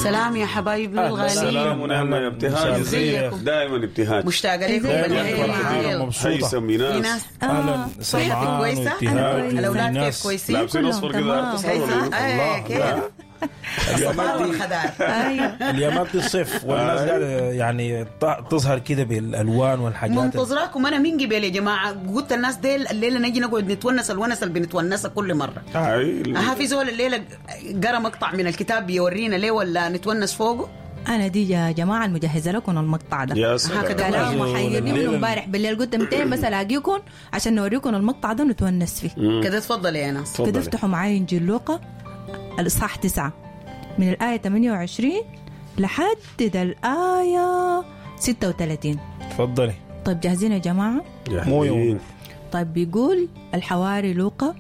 سلام يا حبايبنا أهلا. الغاليين. سلام ونعمة يا ابتهاج. ازيكم؟ دائما ابتهاج. مشتاقة لكم. ازيك؟ بالحيل. فرحانة ومبسوطة. هيثم في ايناس. ناس اهلا صحتك سمعان كويسة؟ وابتهاج الأولاد كيف وإيناس. كويسين؟ لابسين كلهم اصفر كده تمام. تسهروا ولا هيثم إيه؟ ايه كيف؟ اليومات الصبار دي والخضار. ايوه اليومات دي الصيف والناس قاعدة يعني تظهر كده بالالوان والحاجات. منتظراكم انا من قبل يا جماعة، قلت الناس ديل الليلة نجي نقعد نتونس الونس اللي بنتونسها كل مرة. هاي ها في زول الليلة قرا مقطع من الكتاب يورينا ليه ولا نتونس فوقه؟ انا دي يا جماعة المجهزة لكم المقطع ده. يا سلام. هكذا. كلام زول محيرني من الليلة. امبارح بالليل، قلت 200 بس الاقيكم عشان نوريكم المقطع ده ونتونس فيه. كده تفضل يا ناس. تفضلي. كده افتحوا معاي انجيل لوقا الاصحاح 9 من الايه 28 لحد ده الايه 36. تفضلي. طيب جاهزين يا جماعة؟ جاهزين. طيب بيقول الحواري لوقا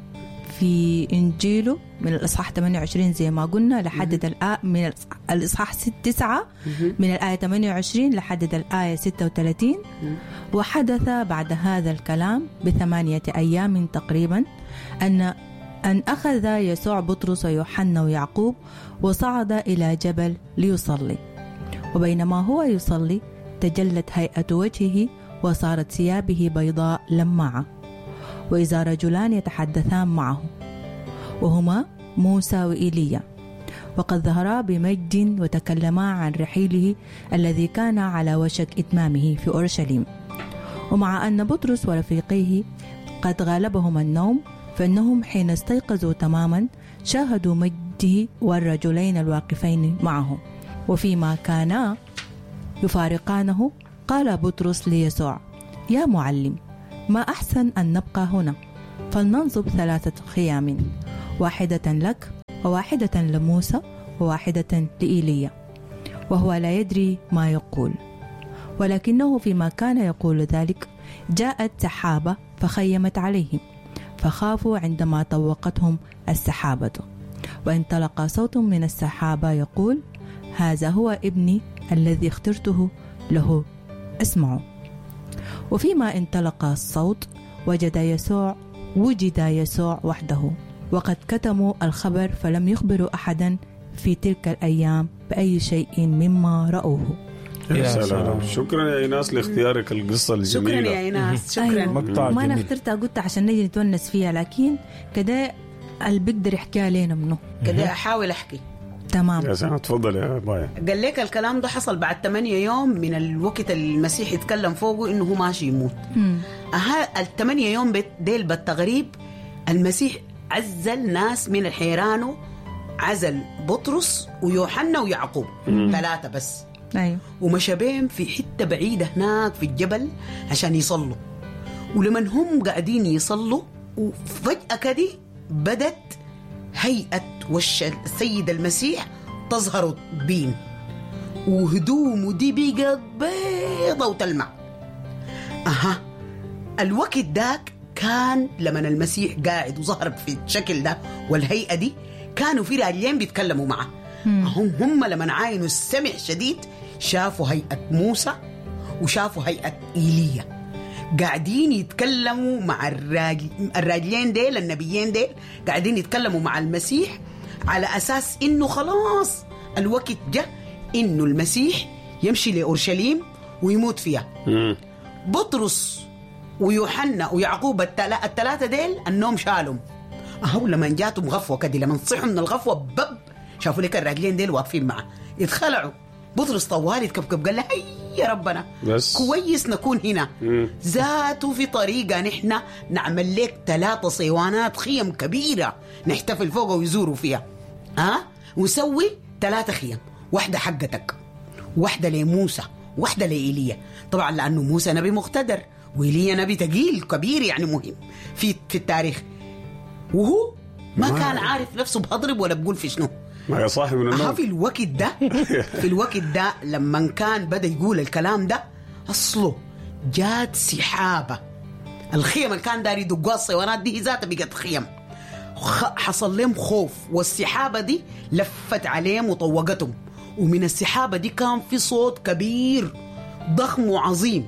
في إنجيله من الإصحاح 28 زي ما قلنا لحد من الإصحاح 9 من الآية 28 لحد الآية 36. وحدث بعد هذا الكلام ب8 أيام تقريبا أن أخذ يسوع بطرس ويوحنا ويعقوب وصعد إلى جبل ليصلي، وبينما هو يصلي تجلت هيئة وجهه وصارت ثيابه بيضاء لماعة، وإذا رجلان يتحدثان معه وهما موسى وإيليا، وقد ظهرا بمجد وتكلما عن رحيله الذي كان على وشك إتمامه في أورشليم. ومع أن بطرس ورفيقيه قد غالبهما النوم، فإنهم حين استيقظوا تماما شاهدوا مجده والرجلين الواقفين معه. وفيما كانا يفارقانه قال بطرس ليسوع: يا معلم، ما أحسن أن نبقى هنا، فلننصب 3 خيام، واحدة لك وواحدة لموسى وواحدة لإيليا. وهو لا يدري ما يقول، ولكنه فيما كان يقول ذلك جاءت سحابة فخيمت عليهم، فخافوا عندما طوقتهم السحابة. وانطلق صوت من السحابة يقول: هذا هو ابني الذي اخترته له، اسمعوا. وفيما انطلق الصوت وجد يسوع وحده، وقد كتموا الخبر فلم يخبروا أحدا في تلك الأيام بأي شيء مما رأوه. يا يا سلام. سلام. شكرا يا ايناس لاختيارك القصة الجميلة. شكرا يا ايناس، شكرا. أيوة. مقطع ما أنا جميل. اخترتها قلت عشان نجي نتونس فيها، لكن كده اللي بيقدر يحكيها لنا منه. كده احاول احكي. تمام. يا سلام، تفضل يا بايا. قال لك الكلام ده حصل بعد 8 يوم من الوقت المسيح يتكلم فوقه انه هو ماشي يموت. اها ال8 يوم ديل بالتغريب المسيح عزل ناس من الحيرانو، عزل بطرس ويوحنا ويعقوب 3 بس. أيوة. ومشى بهم في حتة بعيدة هناك في الجبل عشان يصلوا. ولمن هم قاعدين يصلوا وفجأة كده بدت هيئة وش السيد المسيح تظهر بين، وهدومه دي بقت بيضة وتلمع. أها الوقت داك كان لمن المسيح قاعد وظهر في الشكل ده والهيئة دي، كانوا في راجلين بيتكلموا معه. هم لمن عاينوا السمع شديد شافوا هيئة موسى وشافوا هيئة إيليا قاعدين يتكلموا مع الراجلين ديل، النبيين ديل قاعدين يتكلموا مع المسيح على أساس إنه خلاص الوقت جاء إنه المسيح يمشي لأورشليم ويموت فيها. بطرس ويوحنا ويعقوب الثلاثة ديل النوم شالهم. أهو لما جاتهم غفوة كده، لما صحوا من الغفوة بب شافوا لك الراجلين ديل واقفين معه، اتخلعوا. بطرس طوالي تكبكب قال له: هيا ربنا بس. كويس نكون هنا. ذاته في طريقة نحن نعمل لك 3 صيوانات خيم كبيرة نحتفل فوقها ويزوروا فيها، ها ونسوي 3 خيم، واحدة حقتك، واحدة لموسى، واحدة لإيليا. طبعا لأنه موسى نبي مقتدر وإيليا نبي تقيل كبير يعني مهم في التاريخ، وهو ما كان عارف نفسه بهضرب ولا بقول في شنو. ما يا صاحي من النوم. في الوقت ده في الوقت ده لما كان بدأ يقول الكلام ده أصله جات سحابة، الخيم اللي كان داري يدقوها الصيوانات دي ذاتها بقت خيم. حصل لهم خوف، والسحابة دي لفت عليهم وطوقتهم، ومن السحابة دي كان في صوت كبير ضخم وعظيم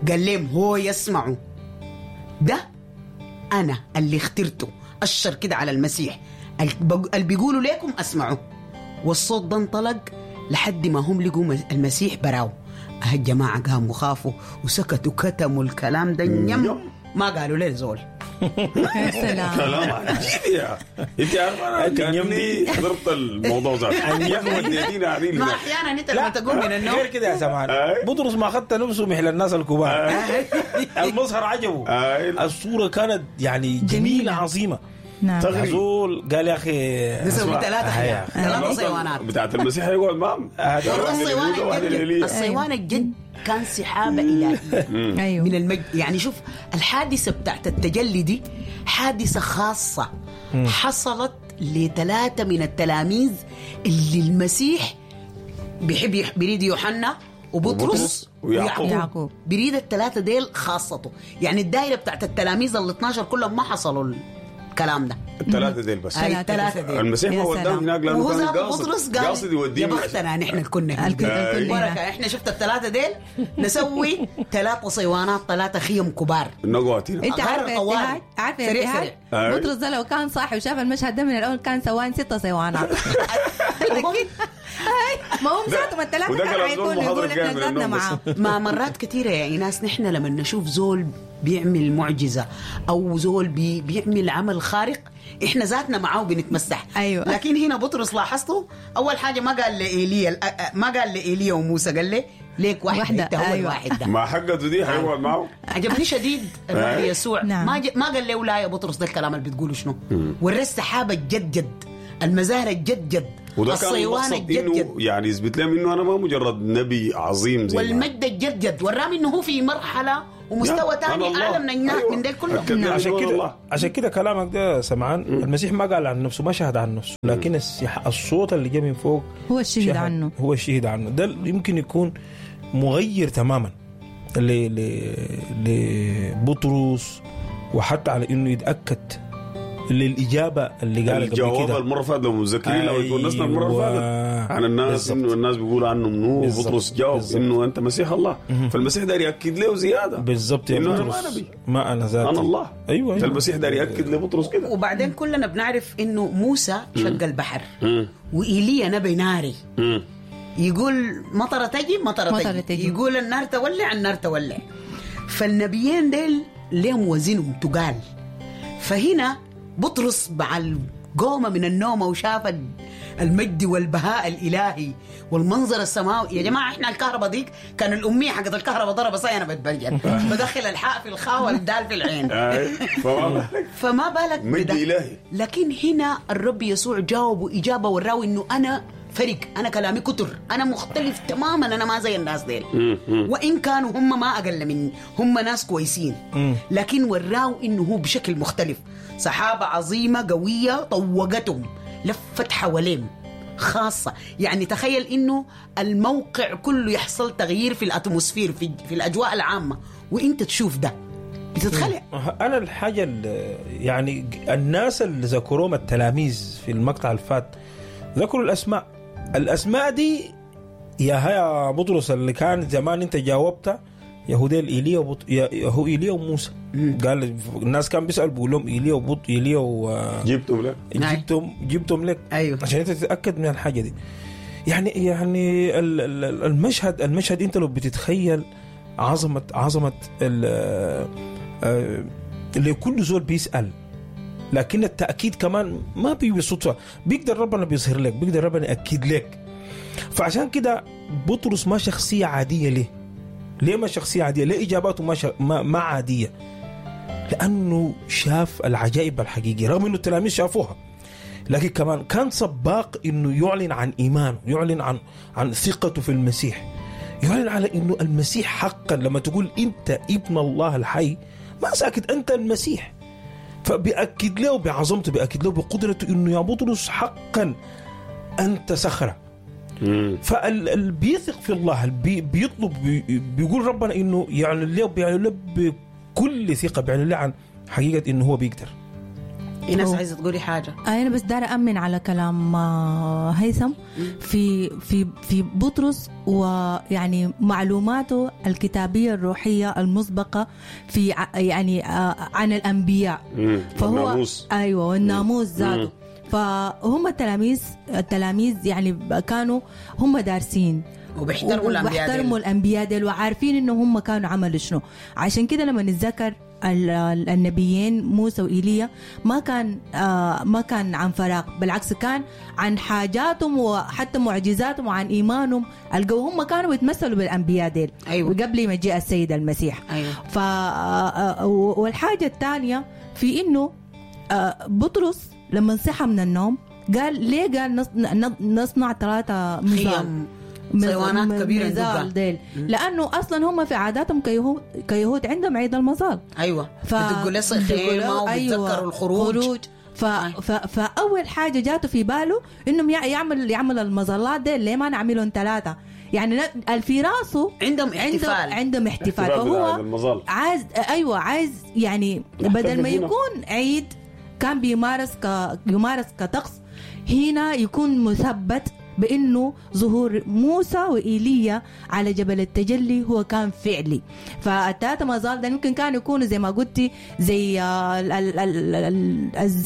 قال لهم هو يسمعوا ده أنا اللي اخترته. أشر كده على المسيح، اللي بيقولوا لكم أسمعوا. والصوت ده انطلق لحد ما هم لقوا المسيح براو. الجماعة قاموا خافوا وسكتوا، كتموا الكلام ده نيم، ما قالوا ليه زول. يا سلام، كلام عجيب يا انت عارفه، انا كاني حضرت الموضوع ذاته. ما احيانا انت لما تقوم من النوم غير كده يا سمان. بطرس ما اخذت نفسه مثل الناس الكبار، المظهر عجبه، الصورة كانت يعني جميلة عظيمة. نعم. زول قال يا اخي نسوي ثلاثة صيوانات بتاعت المسيح يقعد معهم. الصيوان الجد كان سحابة إلهية من المجد. يعني شوف الحادثة بتاعت التجلي دي حادثة خاصة حصلت لثلاثة من التلاميذ اللي المسيح بيحب، بيريد يوحنا وبطرس ويعقوب، بيريد الثلاثة ديل خاصته. يعني الدائرة بتاعت التلاميذ ال 12 كلهم ما حصلوا الكلام ده، الثلاثة ديل بس. الثلاثة ديل المسيح ما وداهم هناك لأنه كان قاصد قاصد يوديهم. يا بختنا نحن كنا بركة، احنا شفت الثلاثة ديل نسوي 3 صيوانات، 3 خيم كبار نقعد هنا. انت عارف عارف سريع. بطرس ده لو كان صاحي وشاف المشهد ده من الأول كان سوان 6 صيوانات. ما هم ذاتهم الثلاثة كانوا حيكونوا يقولوا احنا ذاتنا معاه. ما مرات كثيرة يا إيناس نحن لما نشوف زول بيعمل معجزة أو زول بيعمل عمل خارق إحنا ذاتنا معاه بنتمسح. أيوة. لكن هنا بطرس لاحظته أول حاجة ما قال لإيليا، ما قال لإيليا وموسى، قال لي ليك واحدة أنت هو. أيوة. الواحد ده ما حقته دي حيقعد معه. عجبني شديد الرب يسوع. نعم. ما قال له لا يا بطرس ده الكلام اللي بتقوله شنو. ورى السحابة الجد جد، المزارع الجد جد، وده كان المقصد انه يعني يثبت لهم انه انا ما مجرد نبي عظيم زي والمجد الجد جد، ورام انه هو في مرحلة ومستوى ثاني اعلى من الناس. أيوة. من ديل كلهم. عشان كده عشان كده كلامك ده سمعان. المسيح ما قال عن نفسه، ما شهد عن نفسه، لكن الصوت اللي جاء من فوق هو الشهيد عنه، هو الشهيد عنه. ده يمكن يكون مغير تماما لبطرس، وحتى على انه يتاكد للإجابة اللي قالها قبل كده. الجواب المرة فاتت لو متذكرين، لو اتونسنا المرة اللي فاتت عن الناس إنه الناس بيقولوا عنه منو، وبطرس جاوب إنه أنت مسيح الله. فالمسيح داير يأكد له زيادة بالضبط يا إنه أنا ما نبي، ما أنا ذاتي، أنا الله. أيوة, أيوة. المسيح داير يأكد لبطرس كده. وبعدين كلنا بنعرف إنه موسى شق البحر، وإيليا نبي ناري، يقول مطرة تجي مطرة تجي، يقول النار تولع النار تولع. فالنبيين ديل لهم وزنهم تقال. فهنا بطرس مع القومة من النوم وشاف المجد والبهاء الإلهي والمنظر السماوي. يا جماعة إحنا الكهرباء ديك كان الأمية حقت الكهرباء ضربة صاي، أنا بتبلجل بدخل الحاء في الخاء والدال في العين. فما بالك مجد إلهي. لكن هنا الرب يسوع جاوب إجابة وراوي إنه أنا فرق، أنا كلامي كتر، أنا مختلف تماما، أنا ما زي الناس ديل، وإن كانوا هم ما أقل مني، هم ناس كويسين، لكن وراو إنه هو بشكل مختلف. سحابة عظيمة قوية طوقتهم، لفت حواليهم خاصة. يعني تخيل إنه الموقع كله يحصل تغيير في الأتموسفير، في الأجواء العامة، وإنت تشوف ده بتتخلع. أنا الحاجة يعني الناس اللي ذكروهم التلاميذ في المقطع الفات ذكروا الأسماء، الأسماء دي يا هيا بطرس اللي كان زمان أنت جاوبته يهوديل إيليا هو إيليا وموسى. قال الناس كان بيسأل بيقول لهم إيليا وبط إيليا و جبتهم لك، جبتهم لك. أيوه. عشان أنت تتأكد من الحاجة دي. يعني المشهد أنت لو بتتخيل عظمة اللي كل زول بيسأل، لكن التأكيد كمان ما بيجي صدفة، بيقدر ربنا بيظهر لك، بيقدر ربنا يأكد لك. فعشان كده بطرس ما شخصية عادية. ليه ما شخصية عادية؟ ليه إجاباته ما عادية؟ لأنه شاف العجائب الحقيقية، رغم أنه التلاميذ شافوها، لكن كمان كان سباق أنه يعلن عن إيمانه، يعلن عن ثقته في المسيح، يعلن على أنه المسيح حقا. لما تقول أنت ابن الله الحي ما ساكت، أنت المسيح. فبيأكد له بعظمته، بيأكد له بقدرته أنه يا بطرس حقا أنت صخرة. فاللي بيثق في الله، بيطلب، بيقول ربنا انه يعلن له، بيعلن له بكل ثقة، بيعلن له عن حقيقة انه هو بيقدر. إيناس عايزة تقولي حاجة؟ أنا بس دار أمن على كلام هيثم في في في بطرس، ويعني معلوماته الكتابية الروحية المسبقة في يعني عن الأنبياء، فهو الناموس. أيوة، والناموس ذاته. فهم التلاميذ يعني كانوا هم دارسين وبيحترموا الأنبياء ديل. وبيحترموا الأنبياء ديل وعارفين إنه هم كانوا عملوا شنو. عشان كده لما نتذكر النبيين موسى وإيليا ما كان عن فراغ، بالعكس كان عن حاجاتهم وحتى معجزاتهم وعن إيمانهم القوي. هم كانوا بيتمثلوا بالأنبياء ديل. أيوة. وقبل مجيء السيد المسيح. أيوة. والحاجة الثانية في إنه بطرس لما صحى من النوم قال ليه؟ قال نصنع 3 مظال، صيوانات كبيرة مظال ديل، لأنه أصلا هم في عاداتهم كيهود عندهم عيد المظال. أيوة. بدقوا له خيمة وبيتذكروا الخروج. فأول حاجة جاته في باله إنهم يعمل المظلات ديل، ليه ما نعملهم 3؟ يعني في راسه عندهم احتفال، عندهم احتفال. فهو عايز، أيوة عايز يعني بدل ما يكون عيد كان بيمارس يمارس كطقس، هنا يكون مثبت بأنه ظهور موسى وإيليا على جبل التجلي هو كان فعلي. فالتلاتة مظال ده يمكن كانوا يكونوا زي ما قلتي زي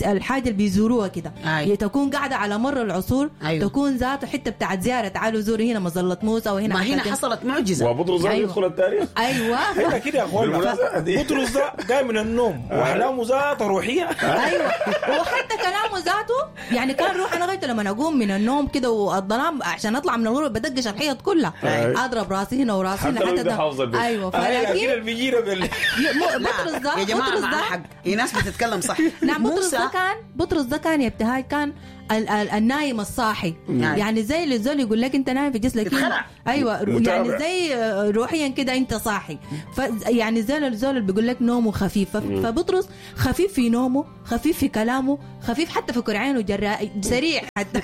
الحاجة اللي بيزوروها كده. أيوة. تكون قاعدة على مر العصور. أيوة. تكون ذاته حتة بتاعت زيارة، تعالوا زوروا هنا مظلة موسى وهنا ما هنا حصلت معجزة وبطرس ده. أيوة. يدخل التاريخ. أيوة. هنا كده يا أخوانا، بطرس ده جاي من النوم وأحلامه ذاته روحية. أيوة. وحتى كلامه ذاته يعني كان روح. أنا غيرت لما أقوم من النوم كده والظلام عشان اطلع من الغرفة بدقش الحيط كلها، اضرب راسي هنا وراسي هنا حتى ده. ايوه. فلكن بطرس ده يا جماعة معاه حق، في ناس بتتكلم صح. نعم. بطرس ده كان يا ابتهاج كان النايم الصاحي. يعني زي اللي زول يقول لك انت نايم في جسمك. ايوه. يعني زي روحيا كده انت صاحي. يعني زي الزول اللي بيقول لك نومه خفيف. فبطرس خفيف في نومه، خفيف في كلامه، خفيف حتى في كرعينه، جراء سريع حتى.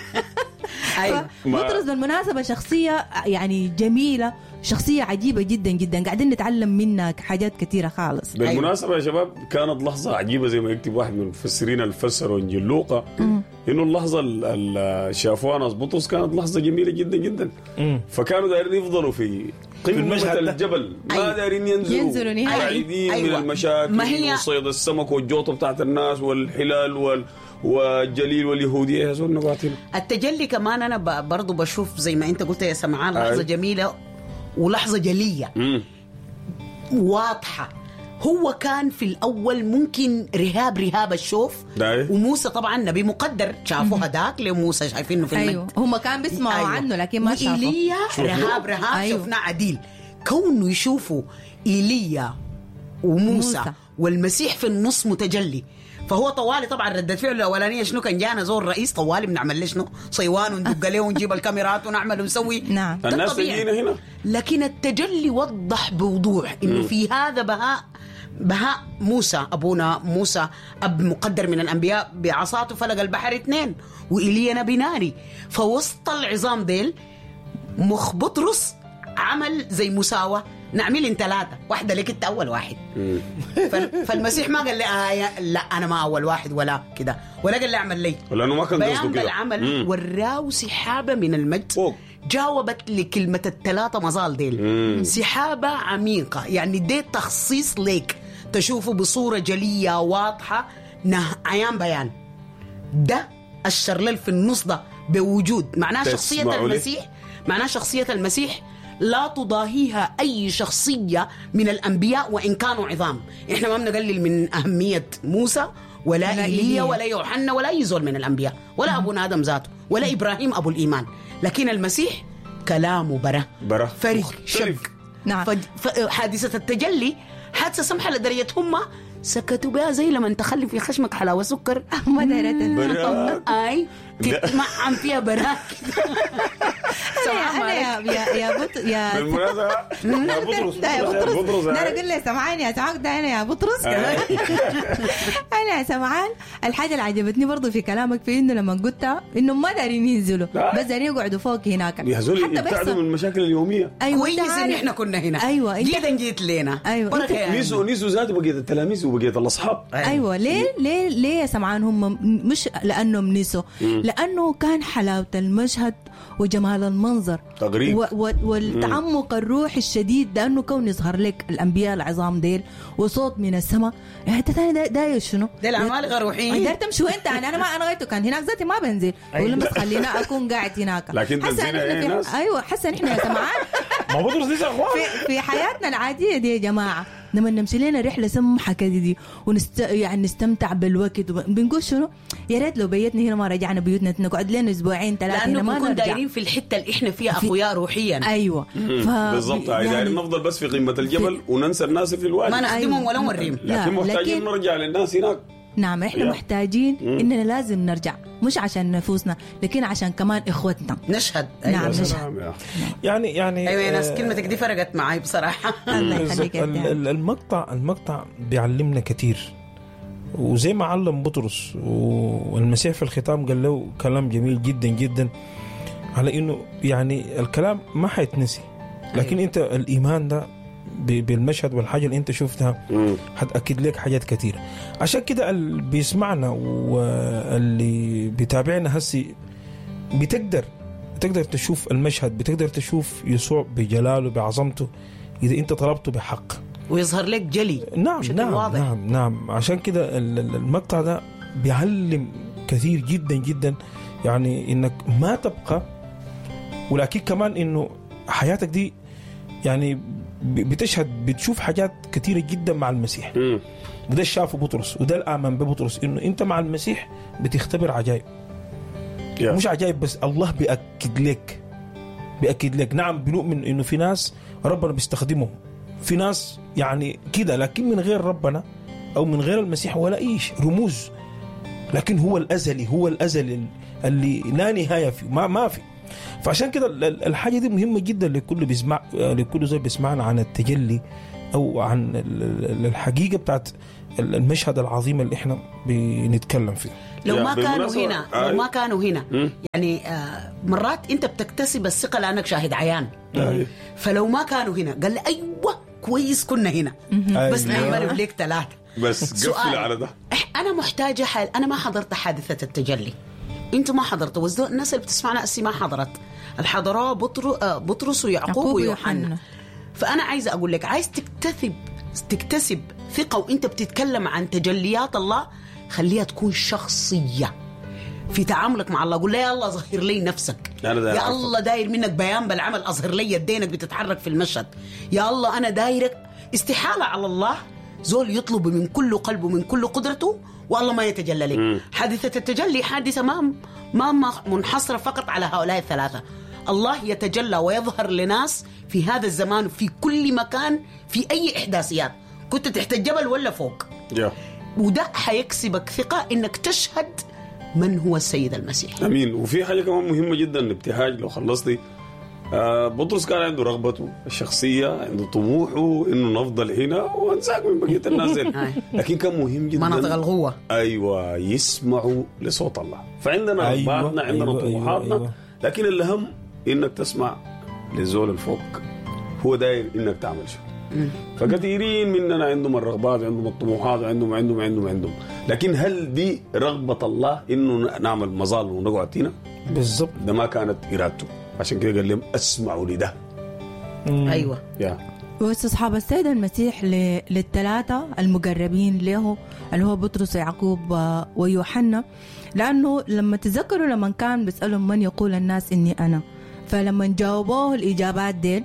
أيوة. بطرس بالمناسبة شخصية يعني جميلة، شخصية عجيبة جدا جدا، قاعدين نتعلم منها حاجات كثيرة خالص. بالمناسبة يا شباب كانت لحظة عجيبة زي ما يكتب واحد من المفسرين اللي فسروا إنجيل لوقا، إنه اللحظة اللي شافوها ناس بطرس كانت لحظة جميلة جدا جدا. فكانوا دايرين يفضلوا في قمة الجبل، ما دايرين ينزلوا بعيدين. أيوة. من المشاكل وصيد السمك والجوطة بتاعت الناس والحلال والجليل واليهودية. يا زول نباتنا التجلي كمان. أنا برضو بشوف زي ما أنت قلت يا سمعان لحظة جميلة ولحظة جلية. واضحة. هو كان في الأول ممكن رهاب الشوف. وموسى طبعا نبي مقدر، شافوه هداك لموسى شايفينه في المجد. أيوه. هم كان بيسمعوا. أيوه. عنه لكن ما شافوه. إيليا رهاب. أيوه. شفناه عديل. كونه يشوفوا إيليا وموسى والمسيح في النص متجلي، فهو طوالي طبعا ردة فعله الأولانية شنو؟ كان جانا زور رئيس طوالي بنعمل له شنو؟ صيوان وندق له ونجيب الكاميرات ونعمل ونسوي. نعم. الناس تجينا هنا. لكن التجلي وضح بوضوح إنه في هذا بهاء موسى، أبونا موسى أب مقدر من الأنبياء، بعصاته فلق البحر 2، وإيليا نبي ناري. فوسط العظام ديل مخ بطرس عمل زي مساواة، نعمل 3، واحدة لك انت أول واحد. فالمسيح ما قال لي لا أنا ما أول واحد ولا كده، ولا قال لي أعمل لي، لأنه ما كان قصده كده. بيان بالعمل وراو سحابة من المجد. فوق. جاوبت لكلمة 3 مظال ديل. سحابة عميقة، يعني دي تخصيص ليك تشوفه بصورة جلية واضحة، عيان بيان. ده الشرلل في النص ده بوجود معناه شخصية المسيح، معناه شخصية المسيح لا تضاهيها أي شخصية من الأنبياء وإن كانوا عظام. إحنا ما بنقلل من أهمية موسى ولا إيليا ولا يوحنا ولا أي زول من الأنبياء ولا أبونا آدم ذاته ولا إبراهيم أبو الإيمان، لكن المسيح كلامه برا فرق شك. نعم. حادثة التجلي حادثة سمحة لدرجة هم سكتوا بها زي لما تخلي في خشمك حلاوة سكر ما دارت اي تتمعن فيها براك. انا يا بط يا بالمناسبة يا بطرس يا بطرس انا اقول له سمعان يا سمعان ده انا يا بطرس. انا يا سمعان الحاجة اللي عجبتني برضو في كلامك في انه لما قلت انه ما دارين ينزلوا بس دارين يقعدوا فوق هناك حتى بيبتعدوا من المشاكل اليومية. ايوه كويس ان احنا كنا هنا. ايوه جيتا جيت لنا. ايوه نيسوا ذاته بقية التلاميذ وبقية الاصحاب. ايوه ليه ليه ليه يا سمعان هم مش لانهم نسوا، لانه كان حلاوة المشهد وجمال المنظر المنظر تغريق. والتعمق الروحي الشديد، لانه كون يظهر لك الانبياء العظام ديل وصوت من السماء، انت ثاني داير شنو؟ ده العمالقة روحيين. داير تمشي وانت يعني انا ما انا غايته كان هناك ذاتي ما بنزل، بقول بس خلينا اكون قاعد هناك. لكن تنزيل ناس. ايوه حاسه نحن يا سمعان ما بطرس لسه اخوان في حياتنا العادية دي يا جماعة، لما نمشي لنا رحله سمحه كده دي يعني نستمتع بالوقت، بنقول شنو؟ يا ريت لو بيتنا هنا ما رجعنا بيوتنا، نقعد لنا اسبوعين ثلاثة هنا ما نرجع، لانه دايرين في الحتة اللي احنا فيها اقوياء روحيا. ايوه بالضبط، يعني دايرين نفضل بس في قمة الجبل وننسى الناس في الوادي، ما نخدمهم ولا نوريهم، لكن محتاجين نرجع للناس هناك. نعم احنا محتاجين اننا لازم نرجع، مش عشان نفوسنا لكن عشان كمان اخوتنا نشهد. أيوة. نعم نشهد. يعني ايوه يا ناس، كلمتك دي فرقت معي بصراحة. الله يخليك. المقطع بيعلمنا كثير، وزي ما علم بطرس والمسيح في الختام قال له كلام جميل جدا جدا، على انه يعني الكلام ما حيتنسي، لكن أيوة. انت الايمان ده بالمشهد والحاجة اللي انت شفتها هتأكد لك حاجات كثيرة. عشان كده اللي بيسمعنا واللي بيتابعنا هسي بتقدر تشوف المشهد، بتقدر تشوف يسوع بجلاله بعظمته إذا انت طلبته بحق، ويظهر لك جلي. نعم نعم واضح. نعم نعم. عشان كده المقطع ده بيعلم كثير جدا جدا، يعني انك ما تبقى، ولكن كمان انه حياتك دي يعني بتشهد، بتشوف حاجات كثيرة جدا مع المسيح. وده شافه بطرس، وده الآمن ببطرس، إنه أنت مع المسيح بتختبر عجائب. مش عجائب بس، الله بيأكد لك، بيأكد لك. نعم بنؤمن إنه في ناس ربنا بيستخدمهم، في ناس يعني كده، لكن من غير ربنا أو من غير المسيح ولا إيش رموز، لكن هو الأزلي، هو الأزلي اللي لا نهاية فيه، ما في. فعشان كده الحاجة دي مهمة جدا لكل بيسمع، لكل زي بيسمعنا عن التجلي أو عن الحقيقة بتاعت المشهد العظيم اللي احنا بنتكلم فيه. لو ما كانوا هنا، لو ما كانوا هنا يعني مرات انت بتكتسب الثقة لأنك شاهد عيان. فلو ما كانوا هنا قال لي أيوة كويس كنا هنا، بس نعمل لك 3 بس قفل على ده. أنا محتاجة حال، أنا ما حضرت حادثة التجلي، انتوا ما حضرتوا، والناس اللي بتسمعنا أسي ما حضرت، الحضرة بطرس ويعقوب ويوحنا. فأنا عايزة أقول لك، عايز تكتسب ثقة وإنت بتتكلم عن تجليات الله، خليها تكون شخصية في تعاملك مع الله. قول له يا الله ظهر لي نفسك، يا الله داير منك بيان بالعمل، أظهر لي يدينك بتتحرك في المشهد، يا الله أنا دايرك. استحالة على الله زول يطلب من كل قلبه من كل قدرته والله ما يتجلى لك. حادثة التجلي حادثة ما منحصرة فقط على هؤلاء الثلاثة. الله يتجلى ويظهر لناس في هذا الزمان في كل مكان في أي إحداثيات، كنت تحت الجبل ولا فوق. وده حيكسبك ثقة إنك تشهد من هو السيد المسيح. أمين. وفي حاجة كمان مهمة جدا ابتهاج، لو خلصتي، بطرس كان عنده رغبته الشخصية، عنده طموحه إنه نفضل هنا ونساك من بقية الناس، لكن كان مهم جدا مناطق الغوة. أيوة، يسمعوا لصوت الله. فعندنا رغباتنا، عندنا أيوة طموحاتنا، أيوة. لكن الأهم إنك تسمع للزول الفوق، هو داير إنك تعمل شو. فكثيرين مننا عندهم الرغبات، عندهم الطموحات، عندهم عندهم عندهم عندهم، لكن هل دي رغبة الله إنه نعمل مظال ونقعد هنا؟ بالضبط، ده ما كانت إرادته. عشان كده قال لهم اسمعوا لده. ايوه. واستصحاب السيد المسيح للثلاثه المقربين له، اللي هو بطرس ويعقوب ويوحنا، لانه لما تذكروا لما كان بيسالهم من يقول الناس اني انا، فلما جاوبوه الاجابات ديل،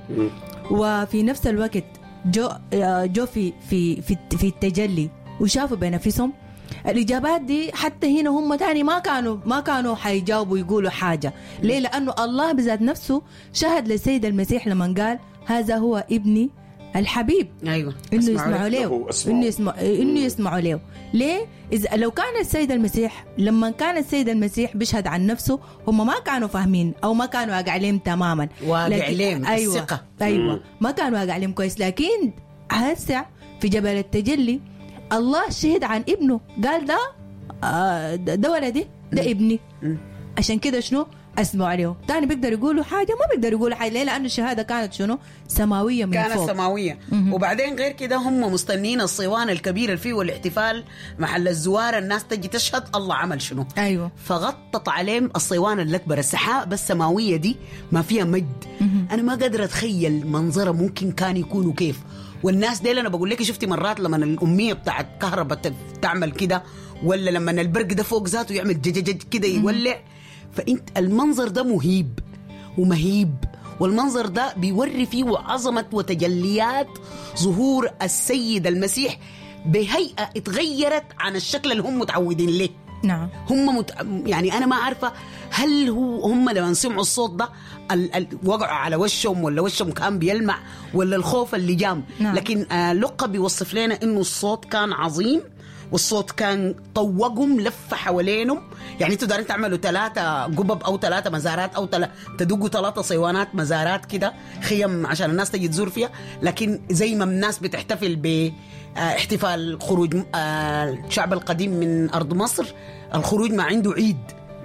وفي نفس الوقت جو في في في, في التجلي وشافوا بنفسهم الإجابات دي، حتى هنا هم تاني ما كانوا حيجاوبوا يقولوا حاجة. ليه؟ لأنه الله بذات نفسه شهد للسيد المسيح لما قال هذا هو ابني الحبيب. أيوة. إنه يسمعوا له، إنه يسمعوا له. ليه؟ إذا لو كان السيد المسيح، لما كان السيد المسيح بيشهد عن نفسه، هم ما كانوا فاهمين أو ما كانوا واقع عليهم تماما. واقع عليهم. أيوة. الثقة. أيوة. ما كانوا واقع عليهم كويس، لكن هسه في جبل التجلي الله شهد عن ابنه، قال ده ده ولدي، ده ابني. عشان كده شنو اثنوا عليه. تاني بيقدر يقولوا حاجة؟ ما بيقدر يقولوا حاجة. ليه؟ لانه الشهادة كانت شنو؟ سماوية من كانت فوق. سماوية. وبعدين غير كده هم مستنين الصوان الكبير اللي فيه والاحتفال محل الزوار، الناس تجي تشهد الله عمل شنو. ايوه. فغطت عليهم الصوان الأكبر، السحابة السماوية دي ما فيها مجد. أنا ما قادرة أتخيل منظره ممكن كان يكونوا كيف. والناس ديل أنا بقول لك، شفتي مرات لما الأمية بتاعت كهرباء تعمل كده، ولا لما البرق ده فوق ذاته يعمل جججج كده يولع، فأنت المنظر ده مهيب ومهيب، والمنظر ده بيوري فيه عظمة وتجليات ظهور السيد المسيح بهيئة اتغيرت عن الشكل اللي هم متعودين له. نعم. هم يعني أنا ما عارفة هل هو هم لما سمعوا الصوت ده وقعوا على وشهم، ولا وشهم كان بيلمع، ولا الخوف اللي جام. نعم. لكن لقى بيوصف لنا إنه الصوت كان عظيم، والصوت كان طوقهم، لف حوالينهم. يعني انتوا دارين تعملوا 3 قبب او 3 مزارات او تدقوا 3 صيوانات مزارات كده، خيم عشان الناس تجي تزور فيها. لكن زي ما الناس بتحتفل باحتفال خروج الشعب القديم من ارض مصر، الخروج ما عنده عيد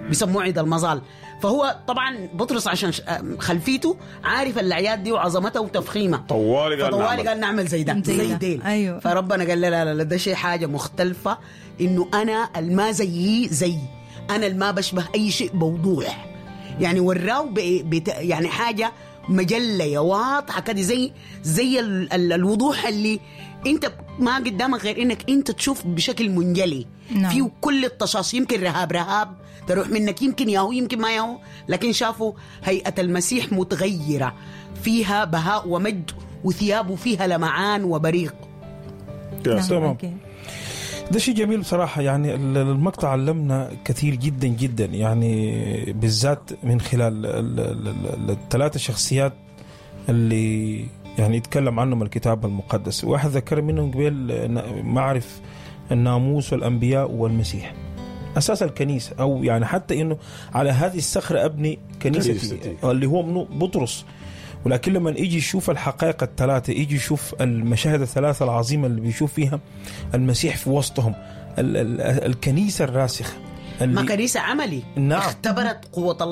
بيسموه عيد المظال. فهو طبعا بطرس عشان خلفيته عارف الاعياد دي وعظمتها وتفخيمها، طوالي قال فطوالي قال نعمل زي ده زي ديل. أيوة. فربنا قال لا لا لا، ده شيء حاجة مختلفة، انه انا الما زيي زي انا الما بشبه اي شيء بوضوح. يعني وراو يعني حاجة مجلة واضحة كده، زي الوضوح اللي انت ما قدامك غير انك انت تشوف بشكل منجلي. نعم. فيه كل الطشاش، يمكن رهاب تروح منك، يمكن ياهو يمكن ما ياهو، لكن شافوا هيئة المسيح متغيرة، فيها بهاء ومجد، وثيابه فيها لمعان وبريق. نعم. تمام. okay. ده شيء جميل بصراحة. يعني المقطع علمنا كثير جدا جدا، يعني بالذات من خلال الثلاثة شخصيات اللي يعني يتكلم عنهم الكتاب المقدس. واحد ذكر منهم قبل معرف الناموس والأنبياء والمسيح، أساس الكنيسة، أو يعني حتى إنه على هذه الصخرة أبني كنيستي، اللي هو منه بطرس. ولكن لما يجي يشوف الحقائق الثلاثة، يجي يشوف المشاهد الثلاثة العظيمة اللي بيشوف فيها المسيح في وسطهم، الكنيسة الراسخة، ما كنيسة عملي. نعم. اختبرت قوة الله.